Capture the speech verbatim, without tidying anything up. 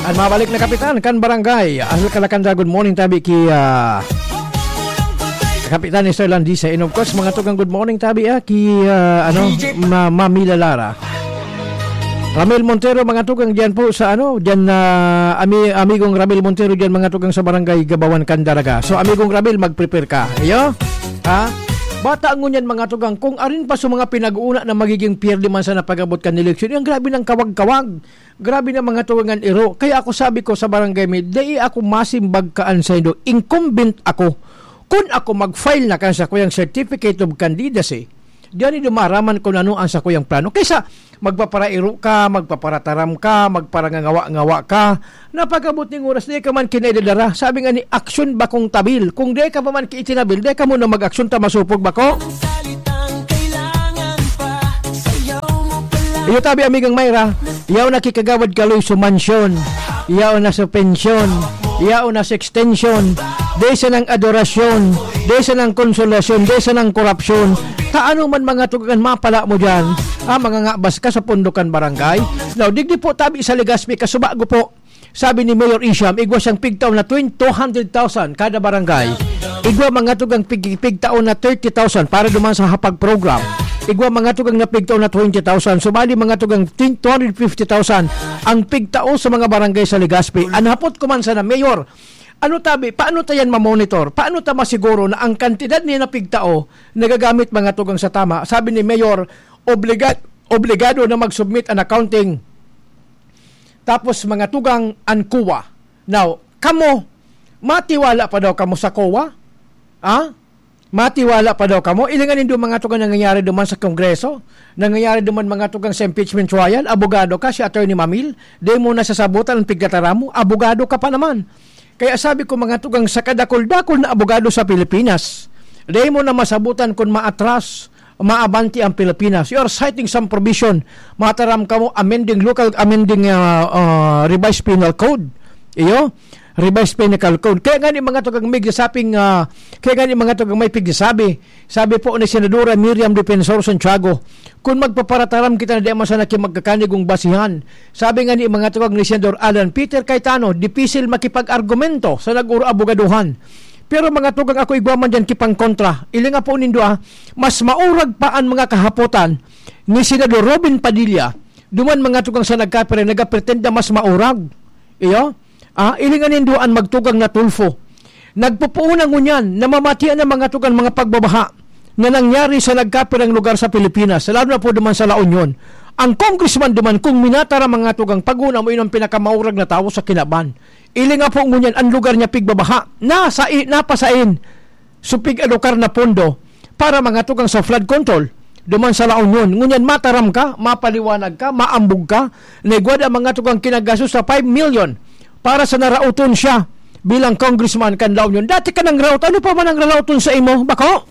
Mabalik na kapitan kan barangay. Asal Kalakanda, good morning tabi ki, ah, Kapitan Mister Landisa. And of course, mga tugang, good morning tabi, ah, ki, ah, ano, Ma-, Mami Lalara. Ramil Montero, mga tugang, diyan po sa, ano, diyan na ami-, amigong Ramil Montero diyan, mga tugang, sa barangay Gabawan, Candaraga. So, amigong Ramil, mag-prepare ka. Iyo? Ha? Bata ngunyan, mga tugang, kung arin pa sa mga pinag-uuna na magiging pierde man sa napagabot kan eleksyon, yung grabe ng kawag-kawag. Grabe na, mga tugang, an iro. Kaya ako sabi ko sa barangay mi, "Dai ako masimbag kaan saindo. Incumbent ako. Kun ako mag-file na kan sakuyang certificate of candidacy, diyan ni dumaraman kung ano ang sakuyang plano." Kaysa magpaparairo ka, magpaparataram ka, magparangangawa-ngawa ka, napagabot ning oras, di ka man kinaidadara. Sabi nga ni, "Aksyon bakong tabil." Kung di ka pa man kiitinabil, di ka muna mag-aksyon, ta masupog bako. Iyo tabi, amigang Myra, yaw na ki Kagawad Kaloy sa mansyon, yaw na sa pensyon, yaw na sa extension, desa ng adorasyon, desa ng konsolasyon, desa ng korupsyon. Ta ano man, mga tugang, an mapala mo diyan? Ah, mangangabas ka sa pondo kan barangay? Now, digdi po tabi sa Legazpi, kasubago po, sabi ni Mayor Isham, igwa siyang pigtao na twenty, two hundred thousand kada barangay. Igwa, mga tugang, pig-, pigtao na thirty thousand para duman sa hapag program. Igwa, mga tugang, na pigtao na twenty thousand. So, bali, mga tugang, tin-, two hundred fifty thousand ang pigtao sa mga barangay sa Legazpi. An hapot ko man sana, Mayor, ano tabi, paano ta yan mamonitor? Paano ta masiguro na ang kantidad niya na pigtao nagagamit, mga tugang, sa tama? Sabi ni Mayor, obliga-, obligado na mag-submit an accounting. Tapos, mga tugang, an COA. Now, kamo, matiwala pa daw kamo sa COA? Ha? Matiwala pa daw kamo? Ilingan nindo, mga tugang, nangyayari duman sa Kongreso, nangyayari duman, mga tugang, sa impeachment trial, abogado ka, si Attorney Mamil, di mo nasasabutan ang pigkataram mo, abogado ka pa naman. Kaya sabi ko, mga tugang, sa kadakul-dakul na abogado sa Pilipinas, di mo na masabutan kung maatras, maabanti ang Pilipinas. You are citing some provision, mataram kamo, amending local, amending, ah, ah, revised penal code. Iyo? Revised Penal Code. Kaya nga ni, mga tugang, mig sa saping, ah, kaya nga ni, mga tugang, may pigsasabi. Sabi po ni Senadora Miriam Defensor Santiago, "Kung magpaparataram kita na di man sana ki magkakanigong basihan." Sabi nga ni, mga tugang, ni Senador Alan Peter Cayetano, "Dipisil makipag-argumento sa nag-uro-abogaduhan." Pero, mga tugang, ako igwa man diyan kipangkontra. Ilinga po nindo, ah, mas maurag pa an mga kahapotan ni Senador Robin Padilla, duman, mga tugang, sa nagkapre-, nagapretenda mas maurag. Iyo? Ah, ilingan nindo an magtugang na Tulfo. Nagpupuon na ngunyan, namamatian na, mga tugang, mga pagbabaha na nangyari sa nagkapirang lugar sa Pilipinas, lalo na po duman sa La Union. Ang congressman duman, kung minataram, mga tugang, paguna mo, yun ang pinakamaurag na tawo sa kinaban. Ilinga po ngunyan, an lugar niya pigbabaha. Nasa i-, napasain. So, pig-alokar na pondo para, mga tugang, sa flood control duman sa La Union. Ngunyan, mataram ka, mapaliwanag ka, maambog ka, na igwa daa, mga tugang, kinagastos sa five million para sa narauton siya bilang congressman kan La Union. Dati ka nang raot, ano pa man ang rarauton sa imo, bako?